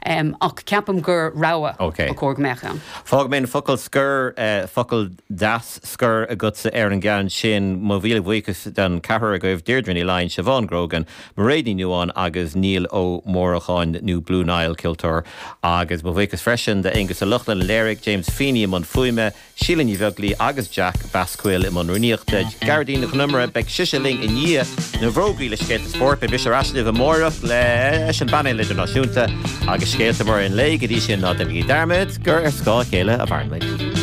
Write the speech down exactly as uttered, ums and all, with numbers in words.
Um, ach ceapaim gur rogha okay. chóir go mbeadh ann. Fág mé focal scoir uh, focal deas scoir agatsa ar an gceann sin mo mhíle buíochas don cheathrar agaibh Deirdre Ní Laighin Siobhán Grogan, Mairéad Ní Nuáin agus Niall Ó Móracháin nó Blue Nile ceoltóir agus mo bhuíochas freisin d'Aonghus Ó Lochlainn léiriú James Feeney an fuaime, Síle Ní Bheaglaoich agus Jack Basquill i mbun rúnaíochta Gearóidín Nic Con Iomaire beidh sise linn i ndiaidh na bhfógraí le scéalta spóirt beidh mise ar ais libh amárach leis an bpainéal idirnáisiúnta agus scéalta móra an lae go dtí sin ná déanaigí dearmad gur ar scáth a chéile a mhaireann muid.